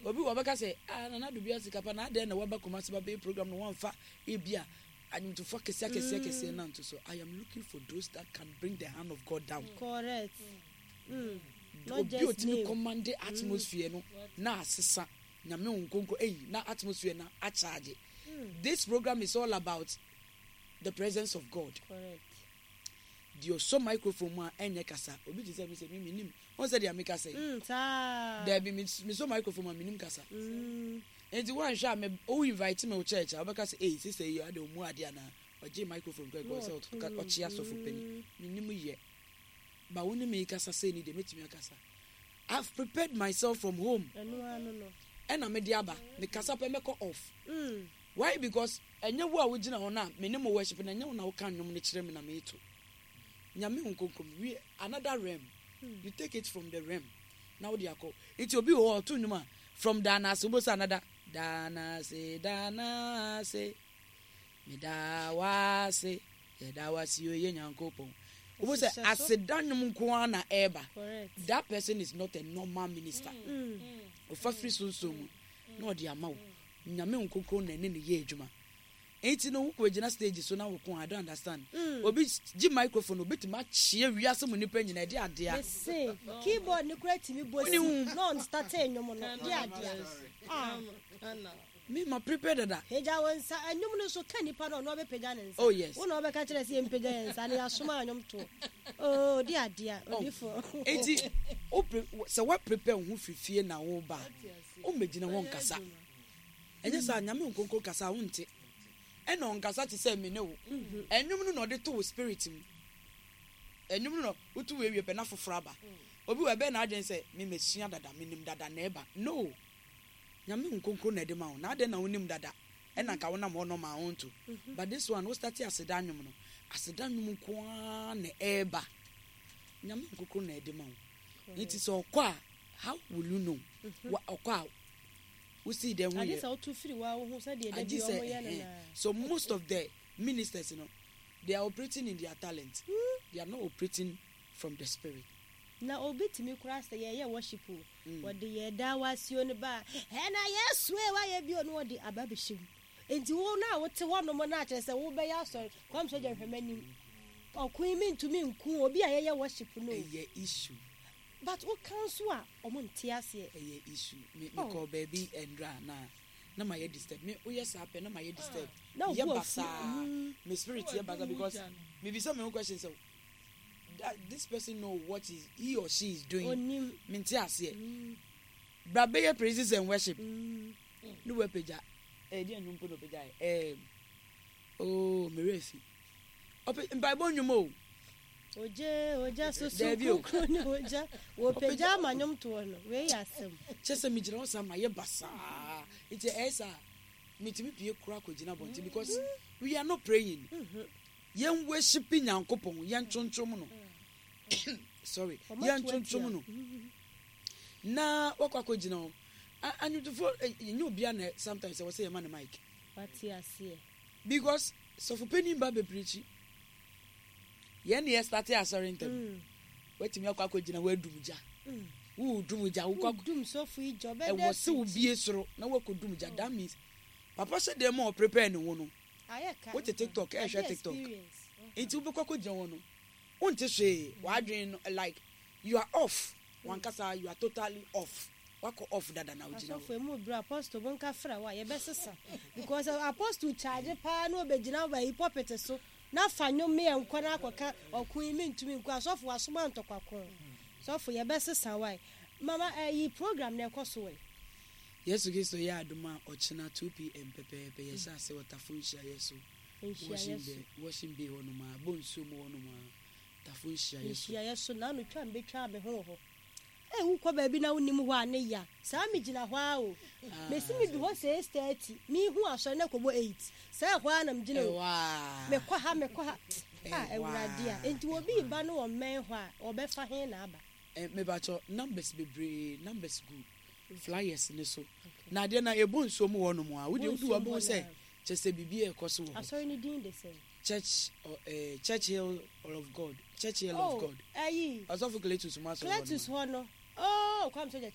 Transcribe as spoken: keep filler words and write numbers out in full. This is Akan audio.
Obi wɔ bɛka sɛ, "Ah, Nana Ado bi sika pa na adɛn na waba Kumasi ba bɛyɛ program no, wɔmfa ebi a anwomtofoɔ akɛseɛ akɛseɛ akɛseɛ nanto so?" I am looking for those that can bring the hand of God down. Correct. Mm. Not obi just otumi name. Command atmosphere no na asesa Nyame wo nkonko eyi na atmosphere na akyagye. This program is all about the presence of God. Correct. Deɛ ɔsɔ microphone mu a ɛnyɛ kasa, obi te sɛ mi sɛ mi mi nim wɔn sɛ deɛ mi kasa yi. Mm, saa. Dɛbi, mi mi sɔ microphone mu a mi nim kasa. Mm. Nti wɔn a mi o invite me wɔ church a, wɔbɛka sɛ, "Eyi sisi eyi ade omu ade ana ɔgye microphone kɔ ɛkɔ sɛ ɔka ɔkye asɔfo panyin mi nim yɛ ba wo ne mi kasa sɛ ni deɛ metumi akasa. I have prepared myself from home. Ɛno ano no. Ɛna me de aba, me kasa pɛ, mɛkɔ off. Mm. Why? Because ɛnyɛ wo a wogyina hɔ na me ne mo worship na ɛnyɛ wo na woka nnwom no kyerɛ me na meeto Nyame ho nkonkrom. We another realm, you take it from the realm na wode akɔ. Nti obi wɔ hɔ a ɔto nnwom a, from daanase wobɛsɛ another daanase daanase, meda wase, yɛda wase o, yɛ Nyankopɔn. Wobɛsɛ Ɛhyehyɛ so. Aseda nnwom nko ara na ɛɛba. Correct. That person is not a normal minister. Mm. Ɔfa firi sunsun mu na ɔde ama wo. Nyame nkonkron na ɛne ne yɛ adwuma. Enti no wokɔ gyina stage so na woko, I don't understand. Mm. Obi gye microphone, obetumi akyea wiase mu nipa nyinaa, ɛde adea. Mese keyboard ne kura tumi bɔ Wone si hu. na ɔn start nnwom no de adea. Ah. Me ma prepare dada. Pagya wo nsa nnwom no so ka nipa no, ɔno ɔbɛpagya ne nsa. Oh, yes. Wo na ɔbɛka kyerɛ sɛ yɛmpagya yɛn nsa na yɛasoma anwom to. Oh, de adea odifo. Enti wo pre sɛ wa prepare wo ho firi fie na wo ba, wommɛgyina hɔ nkasa. Ɛnyɛ saa, Nyame nkonkron kasa a wonte. Ɛna ɔnkasa te sɛ me ne wo. Ɛnwom no na ɔde to wo spirit mu. Ɛnwom no na wotu wo awie pɛ na foforɔ aba. Obi wɔ ɛbɛn n'adwene sɛ me mesua dada, menim dada na ɛba. No. Nyame nkonkron na ɛde ma wo. Na adɛn na wonim dada? Ɛna nka wonam hɔ nɔma a wonto. But this one, wo start aseda nnwom no, aseda nnwom nko ara na ɛɛba. Nyame nkonkron na ɛde ma wo. Nti sɛ ɔkɔ a, how will you know? Wa ɔkɔ a, wosi dɛn ho Ade yɛ? sɛ woto firi wa wo ho sɛdeɛ da Agye bi sɛ ɔmo yɛ no ɛhɛn. naa. So most of the ministers you know, they are operating in their talent. They are not operating from the spirit. Na obi tumi kora sɛ yɛyɛ worship o, Mm. wɔde yɛ da wasio no ba a, ɛna Yesu e wayɛ bio no, wɔde aba bɛhyɛ mu. Nti wo na wote hɔnom na akyerɛ sɛ wobɛyɛ asɔre kwam sɛ gya hwɛ m'anim, ɔko yi mentumi nku obi a yɛyɛ worship no. Ɛyɛ issue. But woka nso a, ɔmo nte aseɛ. Ɛyɛ issue. Me Oh. me kɔ baabi ndra na na ma yɛ disturb. Me woyɛ saa pɛ na ma yɛ disturb. Na wo Yɛ bu afu. basaa. Mm. Me spirit yɛ basaa because me bisa me own question sɛ that this person know what is he or she is doing. Onim. Me nte aseɛ. Mm. Bra bɛyɛ praises and worship. Mm. Ne wɔ apagya. Ɛyɛ deɛ nnwom po na ɔpagya yɛ. Ɛɛm. Oh, me werɛ fi. Ɔpɛ mpaebɔ nnwom o. Ogye ogya soso. Dabi o. Kronkron ne ogya wɔpagya ama nnwom toɔ no, wei yɛ asɛm. Kyɛ sɛ megyina hɔ saa ma yɛ basaa, nti ɛyɛ saa metumi pie kora akɔgyina abɔnten because we are not praying. Yɛn worship Nyankopɔn, yɛn tontrom no, sorry, Ɔma yɛn to tontrom atia. no na wakɔ akɔgyina hɔ. A- anwomtofoɔ eh, nyɛ obia na sometimes ɛwɔ sɛ yɛma no mic. Wate aseɛ. Because sɔfopanin ba bepreach, yɛn ne yɛ start asɔre ntɛm. Mm. Watumi akɔ akɔgyina hɔ adum gya. Mm. Wodum gya, wokɔ akɔ Wodum sɔfo yi gya ɔbɛda. Ɛwɔ sɛ wobie soro na wakɔdum gya. That means papa hyɛ dɛm a ɔprepare ne ho no. Ayɛ ka. Wote TikTok, ɛhwɛ Ade TikTok. experience. Nti wobɛkɔ akɔgyina hɔ no, wonte hwee. W'adwene no, like you are off wankasa, you are totally off, wakɔ off dada na wogyina hɔ. Asɔfo emu bere apostle mo nka fra wa yɛbɛsesa because apostle charge paa na obɛgyina ba yi pulpit so na fa nnwom yɛ nkɔ na akɔka ɔko yi mentumi nkɔ. Asɔfo wasoma ntɔkwako, sɔfo yɛbɛsesa wae. Mama, ɛyi program na ɛkɔ so wɛ? Yesu Kristo yɛ adom a, ɔkyena two p m pɛpɛɛpɛ yɛhyɛ ase wɔ Tafo nhyiaeɛ so. Nhyiaeɛ Washing so. Bay, Washing Bay hɔnom a bɔ nsuo mu hɔnom a, Tafo nhyiaeɛ so. Nhyiaeɛ so na ano twa mbɛtwa me ho wɔ hɔ. Ɛ wokɔ baabi na wonim hɔ a ne ya saa megyina hɔ a o, mesi medu hɔ six thirty, mehu asɔre na kɔbɔ eight saa, ɛhɔ a na megyina o. Ɛwɔ Mekɔ ha, mekɔ ha a. Ɛwɔ. Awurade a, enti obi ba no wɔ mmɛn hɔ a, ɔbɛfa he na aba? Mebakyɛ numbers bebree, numbers gu flyers ne so na adeɛ na ɛbɔ nsuo mu hɔnom a wode wodu hɔ bɛhu sɛ kyɛ sɛ biribi ɛkɔ so wɔ hɔ. Asɔre no din de sɛn? Church uh, Church Hill of God, Church Hill oh of God. Ayi. Ɔsɔfo Cletus mu asɔre hɔ nom. Cletus hɔ no, oh, Kwam Sogya kyena.